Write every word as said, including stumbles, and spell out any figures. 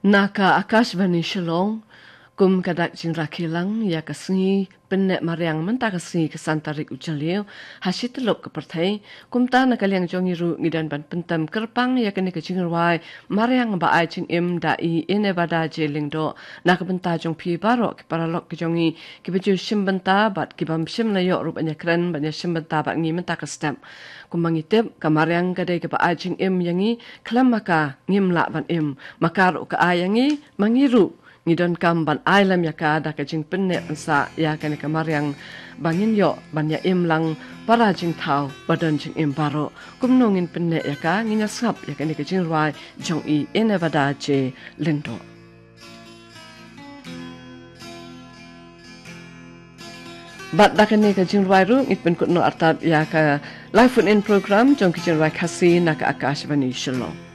Na ka Akashvani Shillong, kum ka dak jingrakhe lang ïa ka sngi pynneh mariang mynta ka sngi ka san tarik u Jylliew ha shi tyllup ka pyrthei. Kumta na ka liang jong ngi ruh ngi don ban pyntem kyrpang ïa kane ka jingrwai mariang ba ai jingim da i Inebada J Lyngdoh na ka bynta jong phi baroh ki paralok ki jong ngi kiba ju shim bynta bad ki bym shym la ïoh ruh ban ïakren ban ïashim bynta bad ngi mynta ka step. Kumba ngi tip ka mariang ka dei kaba ai jingim ïa ngi, khlem ma ka ngim lah ban im. Ma ka ruh ka ai ïa ngi, ma ngi ruh ngi donkam ban ai lem ïa ka da ka jingpynneh pynsah ïa kane ka mariang ba ngin ïoh ban ïa im lang para jingthaw ba don jingim baroh. Kumno ngin pynneh ïa ka? Ngin ïa sngap ïa kane ka jingrwai jong i Inebada J Lyngdoh. Bad da kane ka jingrwai ruh ngi pynkut noh artat ïa ka live phone in program jong ka jingrwai Khasi na ka Akashvani Shillong.